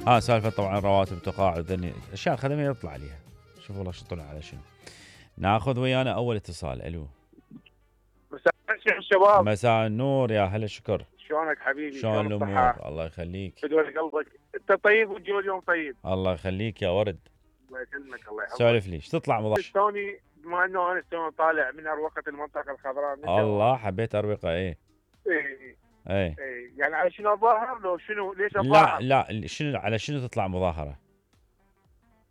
سالفه طبعا رواتب تقاعد ذني اشياء خدميه يطلع عليها. شوف والله شو طلع على شنو. ناخذ ويانا اول اتصال. الو. مساء الخير الشباب. مساء النور يا هلا شكر. شلونك حبيبي؟ شلون الامور؟ الله يخليك. بدون قلبك. انت طيب والجو اليوم طيب. الله يخليك يا ورد. الله يسلمك الله يحفظك. سولف لي ايش تطلع مضاحك؟ توني بما انه انا توني طالع من اروقه المنطقه الخضراء. الله حبيت اروقه. ايه ايه يعني على شنو اظاهر لو شنو ليش اظاهر؟ لا شنو على شنو تطلع مظاهره؟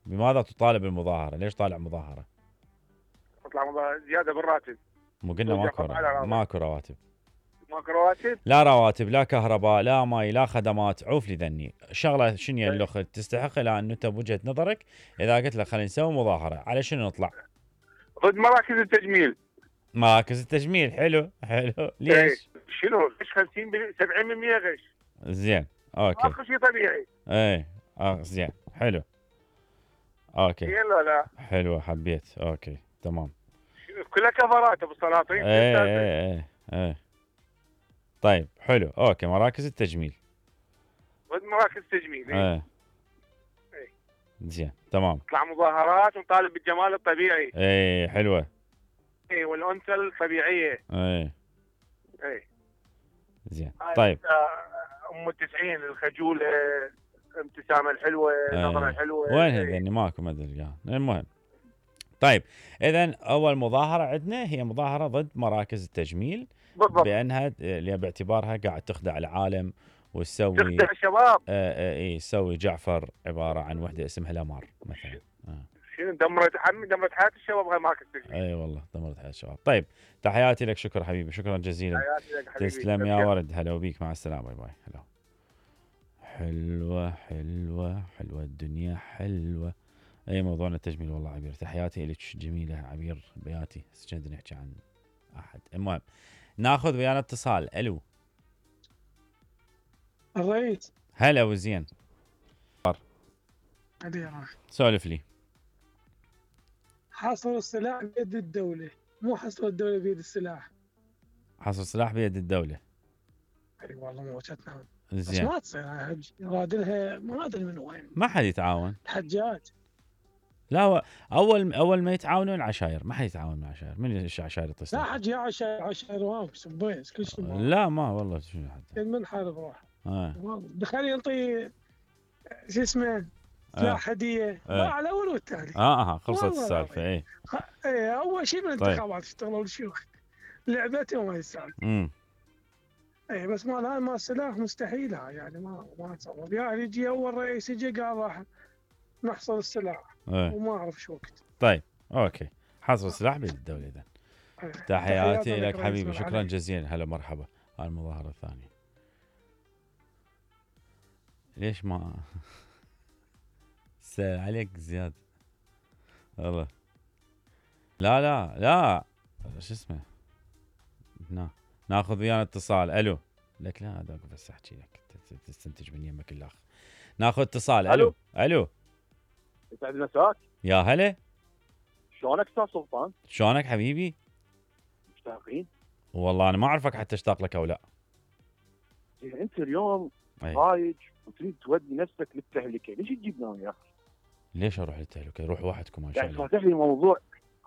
بماذا تطالب المظاهره؟ ليش طالع مظاهره؟ تطلع مظاهره زياده بالراتب. مو قلنا ماكو رواتب. ماكو رواتب؟ لا رواتب لا كهرباء لا ماي لا خدمات. عوف لي ذني شغله شنو اللي تستحق لان انت بوجهه نظرك اذا قلت لك خلينا نسوي مظاهره على شنو نطلع؟ ضد مراكز التجميل. مراكز التجميل حلو ليش؟ شنو غش 50% 70% غش. زين اوكي. اخر شيء طبيعي. زين حلو. اوكي. زين لا حلوه حبيت. اوكي تمام. كلها كفرات ابو السلاطين. ايه طيب حلو. اوكي مراكز التجميل. ضد مراكز التجميل. زين تمام. نطلع مظاهرات ونطالب بالجمال الطبيعي. حلوه. والانثى الطبيعيه. زين طيب. ام التسعين الخجوله الابتسامه الحلوه النظره الحلوه. وين هذي ماكو ما ادري. المهم طيب اذا اول مظاهره عندنا هي مظاهره ضد مراكز التجميل بالضبط. بانها باعتبارها قاعد تخدع العالم وتسوي تخدع الشباب. تسوي جعفر عباره عن وحده اسمها لامار مثلا. شنو دمرت حياه الشباب هاي ماركت التجميل. اي والله دمرت حياه الشباب. طيب تحياتي لك. شكرا حبيبي. شكرا جزيلا. تحياتي لك حبيبي. تسلم يا ورد. هلا وبيك. مع السلامه. باي باي. هلا. حلوه الدنيا حلوه. اي موضوعنا التجميل والله عبير. تحياتي لك جميله عبير بياتي. كنا نحكي عن احد. المهم ناخذ ويانا اتصال. الو. الرئيس. هلا وزين. سولف لي. حصر السلاح بيد الدولة، مو حصر الدولة بيد السلاح. حصر السلاح بيد الدولة. اي والله مو وجهتنا. زين. بس ما تصير يرادلها ما ادري من وين. ما حد يتعاون. الحجاج. لا هو اول ما يتعاونون العشاير. ما حد يتعاون مع عشاير. من العشاير يتصل؟ لا حد عشاير وامس بويس كل شيء. لا ما والله شنو حد. من حارب روح. دخل ينطي شو اسمه سلاح هديه. ما على الاول والثاني. خلصت السالفه. اي اول شيء بالانتخابات اشتغلوا الشيوخ لعبتهم هاي السالفه. اي بس ما السلاح مستحيل. يعني ما تصور. يعني يجي اول رئيس يجي قال راح نحصر السلاح وما اعرف شو وقت. طيب اوكي. حصر السلاح بيد الدوله اذا. تحياتي لك حبيبي. شكرا جزيلا. هلا مرحبا. هاي المظاهره الثانيه. ليش ما سهل عليك زياده والله. لا شو اسمه. ناخذ ويانا اتصال. الو. لك لا هذاك بس احكي لك تستنتج من يمك الاخ. ناخذ اتصال. الو. يسعد مساك. يا هلا. شلونك استاذ سلطان؟ شلونك حبيبي؟ مشتاقين؟ والله انا ما اعرفك حتى اشتاق لك او لا. انت اليوم هايج وتريد تودي نفسك للتهلكه، ليش تجيبنا وياك؟ ليش اروح للتهلكه؟ روح وحدكم ان شاء الله. يعني فاتح لي موضوع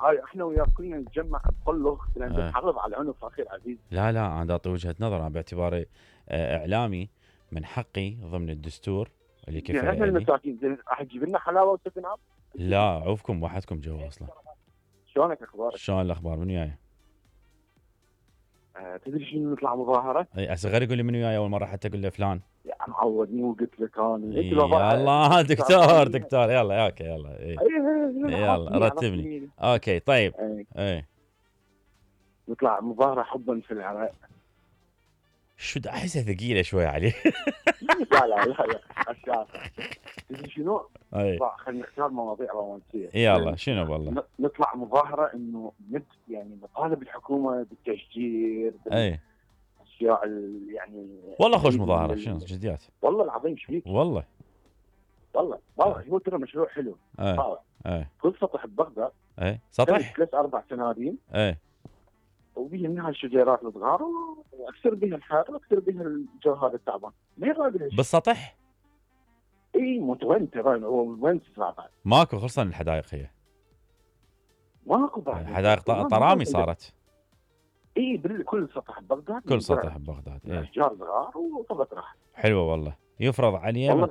هاي احنا وياك كلنا نتجمع بقلخ لان نحرض على عنف اخي العزيز. لا انا اعطي وجهه نظر. انا باعتباري اعلامي من حقي ضمن الدستور اللي كيف يعني احنا المساكين راح تجيب لنا حلاوه وسفن عب؟ لا عوفكم وحدكم جوا اصلا. شلونك اخبارك؟ شلون الاخبار؟ من وياي؟ تدري شنو نطلع مظاهره؟ اي هسه غير يقول لي من وياي اول مره حتى اقول له فلان. يا معودني وقلت لك انا. يلا دكتور يلا اوكي يلا. يلا رتبني. اوكي طيب. نطلع مظاهره حبا في العراق. شو احسها ثقيله شوي عليه. لا اشياء. تدري شنو؟ خلينا نختار مواضيع رومانسيه. يلا شنو والله؟ نطلع مظاهره انه يعني نطالب الحكومه بالتشجير. اشياء يعني والله خوش مظاهره. شنو جديات؟ والله العظيم ايش فيك؟ والله هو ترى مشروع حلو. كل سطح ببغداد. سطح 3-4 سنادين. وبيه منها الشجيرات الصغار واكثر بها الحار واكثر بها الجو هذا التعبان. ما يغادر بالسطح؟ اي متوتر وين بعد ماكو خصوصا الحدائق هي ماكو بعد حدائق طرامي صارت. اي كل سطح ببغداد كل سطح ببغداد اشجار صغار وطبق راح حلوه والله. يفرض علينا